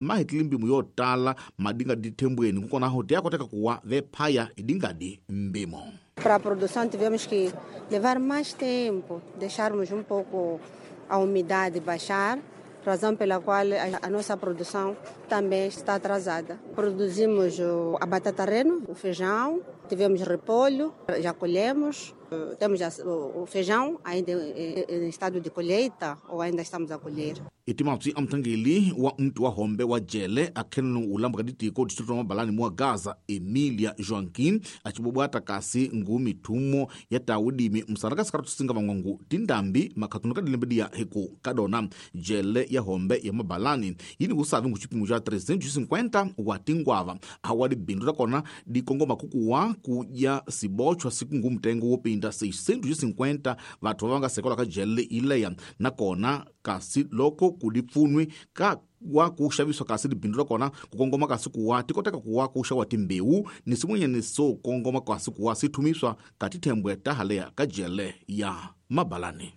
Mahetile mpimo yo tala madingadi thembweni kukonaho ti ya koteka kuwa vephaya idingadi mbimo. Para a produção tivemos que levar mais tempo, deixarmos um pouco a umidade baixar, razão pela qual a nossa produção também está atrasada. Produzimos a batata reno, o feijão, tivemos repolho, já colhemos, temos o feijão ainda em estado de colheita ou ainda estamos a colher. Itimapsi amthangeli wa mtu wa hombe wa jele akhenelo ulambuka ditiko distrito wa Mabalani mwa Gaza Emilia Joaquim acibobwata kasi ngu mithumo ya taudimi msana ka tusinga vangwangu tindambi makhatunu ka dilembe hiku kadona jele ya hombe ya Mabalani yini kusavi ngu xipimo xa 350 wa tingwava awa dibindu ta kona dikongoma kukuwa kuya sibochwa siku ngu mtengo wo pinda 650 vathu va nga sekelwa ka jele ileya nakona kasi loko kudipfunwi ka wa ku xaviswa kasi libindu ra kona ku kongoma kasi kuwa ti koteka kuwa ku xawa timbewu ni swin'wanyani swo kongoma kasi kuwa swi thumiswa ka tithembwe ta haleya ka jele ya Mabalani.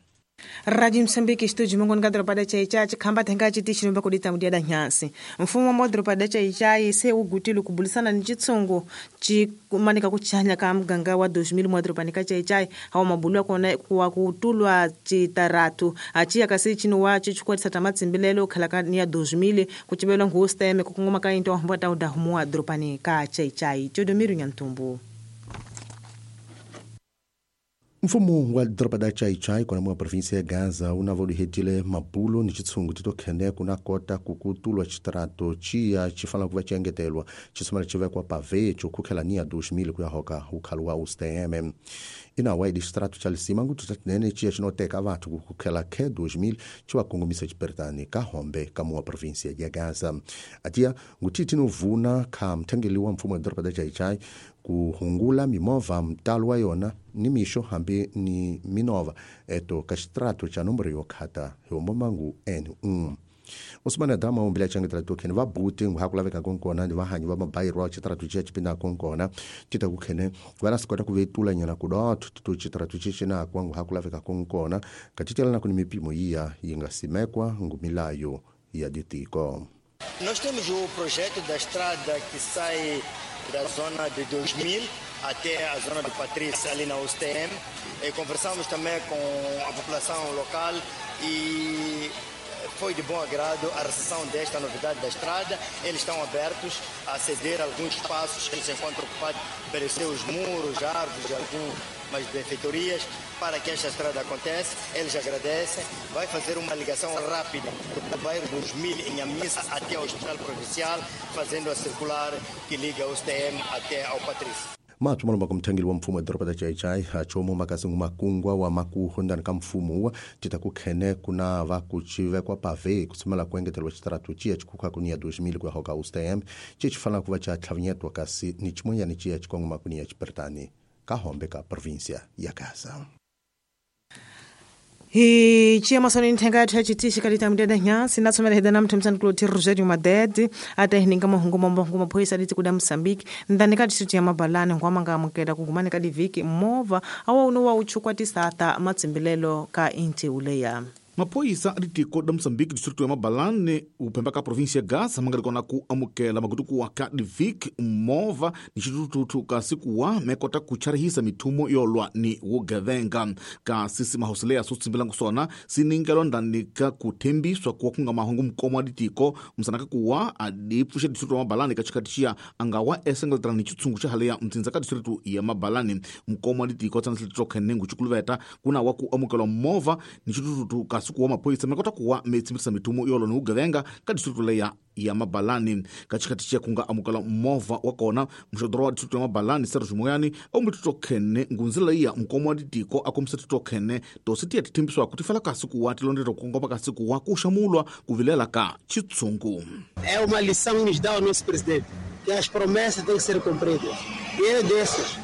Radio Msambiki studio mongoni ka doroba da Chaichai chikhamba thenga chitichi kudita mudia da nyansi mfumo wa doroba da Chaichai se ugutile kubulisana ni chitsungu chikumanika kuchanya ka muganga wa 2000 mwa doroba ka Chaichai hawa mabulu kona kuwa kutulwa chitaratu achiya kasi chino wa chichukwatisa tamatsimbilelo khala ni ya 2000 kuchibelwa ngusteme kukungoma ka into hamba ta udahumwa doroba ka Chaichai chodomiru nyantumbu. Mfumo wa doroba da Chaichai kona mwa província ya Gaza unavolihetile mabulo ni chitsungu titokhene kuna kota kukutulwa chitarato chiya chifana kuva chiengetelwa chisomela chivekwa pave chokhukhela ni ya 2000 kuya hoka ukhalu wa USTM. Inawa idi chitarato cha lisima ngutu tatinene chiya chinoteka vathu kukhukhela khe 2000 chiwakongomisa chiperitani ka hombe ka muwa província ya Gaza. Atiya nguthithi novuna kha mthengeli wa mfumo wa doroba da Chaichai kuhungula mimovha mtalo wa yona ni mixo hambi ni minova eto ka xitrato xa nomboro yo khata hi hombomangu N1. Osmane Adama umbile changetela tokhene va buti ngu ha ku laveka konkona ni vahanyi va mabayirwa xitrato xiya xi pindaka konkona ti ta ku khene va na swi kota ku vetula nyana ku dotho to xitrato xi xinakwa ngu ha ku laveka konkona ka titelana ku ni mipimo yiya yi nga simekwa ngu milayo ya ditiko. Nós temos o projeto da estrada que sai da zona de 2000 até a zona do Patrício, ali na USTM. E conversamos também com a população local e foi de bom agrado a recepção desta novidade da estrada. Eles estão abertos a ceder alguns espaços que se encontram ocupados pelos seus muros, árvores, algumas benfeitorias, para que esta estrada aconteça. Eles agradecem. Vai fazer uma ligação rápida do bairro 2000 em Amissa até ao Hospital Provincial, fazendo a circular que liga o USTM até ao Patrício. Mathu malomba ka mthangeli wa mfumo wa doroba da Chaichai achomo makasi ngu makungwa wa makuho ndani ka mfumo wa tita ku khene kuna va ku chivekwa pave kusumela ku engetelwa xitaratu chiya chikhukha ku ni ya 2000 ku ya hoka USTM chi chifana ku va cha tlhavinyetwa kasi ni chimonyani chiya chikongoma ku ni ya chiperitani ka hombe ka província ya Gaza. Hi chiya masoni nthenga yathu ya chitichi kalita mudeda nyansi natsomela heda na mthu msani Rogério Madede ata hininga mahungu mamahungu maphoyisa liti kuda Mozambique ndani ka district ya Mabalani ngwama amukela kugumani ka diviki movha awa uno wa uchukwatisa ta matsimbilelo ka inti uleya. Maphoyisa a ditiko da Mozambique distrito ya Mabalani uphemba ka província ya Gaza mangali kona ku amukela magutukuwa ka divik movha ni xituthuthu kasi kuwa mekota ku charihisa mithumo yo lwa ni vugevenga kasi simahosileya swo tsimbilangu swona siningelwa ndani ka ku thembiswa kuwa ku nga mahungu mkomo wa ditiko msana ka kuwa adi pfuxa distrito ya Mabalani ka xikati xiya anga wa esengeletela ni xitshungu xa haleya mtsindza ka distrito ya Mabalani mkomo wa ditiko tsanasletitokhene ngu xikuluveta kuna wa ku amukelwa movha ni xituthuthu kasi kuwa maphoyisa mekota kuwa metsimbirisa mithumo yolo ni vugevenga ka distrito leya ya Mabalani ka xikati xiya ku nga amukela movha wa kona muxodoro wa distrito ya Mabalani Sergio Moyani ombutitokhene ngunzila leya mkomo wa ditiko a kombisa titokhene tosi tiya ti thembisiwaku ti fela kasi kuwa ti londzeta ku kongoma kasi kuwa ku xamulwa ku vilela ka xitshungu. É uma lição que nos dá o nosso presidente, que as promessas têm que ser cumpridas. E ele é desses.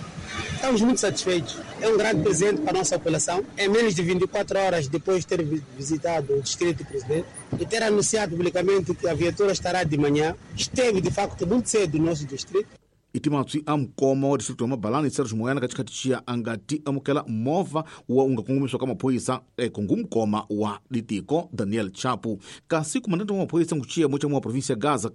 Estamos muito satisfeitos. É um grande presente para a nossa população. Em menos de 24 horas depois de ter visitado o distrito do presidente e ter anunciado publicamente que a viatura estará de manhã, esteve de facto muito cedo no nosso distrito. Iti matswi a mukoma wa distrito ya Mabalani Sergio Moyana ka xikhati xiya a nga ti amukela movha wa u nga kongomisiwa ka maphorisa ngumukoma wa litiko Daniel Chapo. Kasi komandante wa maphorisa nguxiyemo xa wa provinsi ya Gaza